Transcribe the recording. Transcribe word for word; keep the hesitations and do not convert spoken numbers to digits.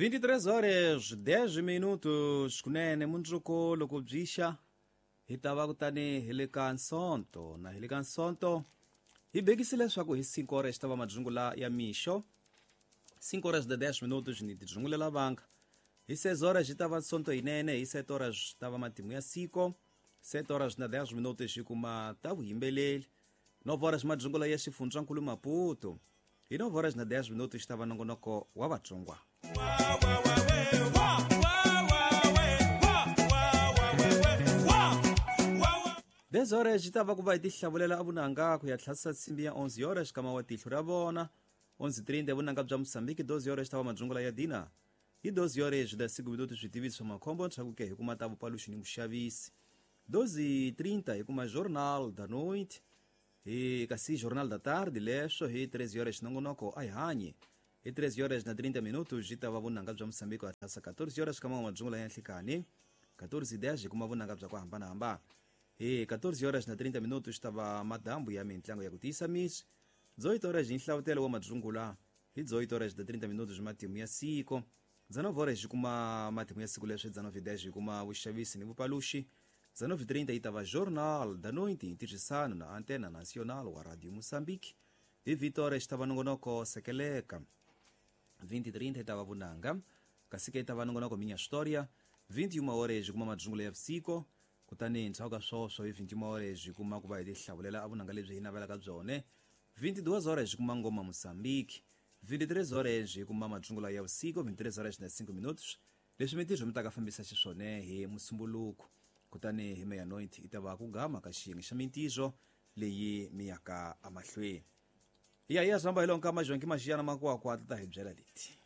vinte e três horas dez minutos kunene mundzuku loko byi xa hi ta va kutani hi le ka Nsonto na hi le ka Nsonto hi bekisile leswaku hi cinco horas ta va madzungula ya mixo cinco horas de dez minutos ni tidzungulela vanga hi seis horas hi ta va Nsonto yinene hi sete horas ta va matimu ya siko sete horas na dez minutos hi kuma ta vuyimbeleri nove horas madzungula ya xifundzankulu Maputo hi nove horas na dez minutos ta va nongonoko wa Vatsongwa. dez horas yi ta va ku va hi tihlavulela evunanga ku ya tlhasisa nsimbi ya onze horas kama wa tihlo ra vona onze trinta vunanga bya Mozambique doze horas ta va madzungula ya dina hi doze horas da cinco minutos switiviso swa makhombo ntshakuke hi kuma ta vupaluxi ni vuxavisi doze trinta hi kuma Jornal da Noite hi kasi Jornal da Tarde leswo hi treze horas nongonoko a hi hanyi hi treze horas na trinta minutos yi ta va vunanga bya Mozambique ya tlhasa quatorze horas kama wa madzungula ya nhlikani quatorze dez hi kuma vunanga bya ku hambanahambana hi quatorze horas na trinta minutos ta va madambu ya mintlango ya ku tiyisa misi dezoito horas hi nhlavutelo wa madzungula hi dezoito horas na trinta minutos matimu ya siko dezenove horas hi kuma matimu ya siku leswi dezenove dez hi kuma vuxavisi ni vupaluxi dezenove trinta yi ta va Jornal da Noite hi ntirhisano na Antena Nacional wa Radio Moçambique hi vinte horas ta va nongonoko Sekeleka vinte trinta yi ta va vunanga kasi ke yi ta va nongonoko Minha História vinte e uma horas hi kuma madzungula ya vusiku kutani ndzhaku ka swoswo hi vinte e uma horas hi kuma ku va hi tihlavulela evunanga lebyi hi navelaka byone vinte e duas horas hi kuma ngoma Moçambique vinte e três horas hi kuma madzungula ya vusiku vinte e três horas na cinco minutos leswi mintirho mi ta ka fambisa xiswone hi musumbuluko kutani hi meia-noite yi ta va ku gama ka xiyenge xa mintirho leyi mi yaka emahlweni hi ya hi ya zamba hi lonka majonki maxiyana makwakwa ta hi byela leti.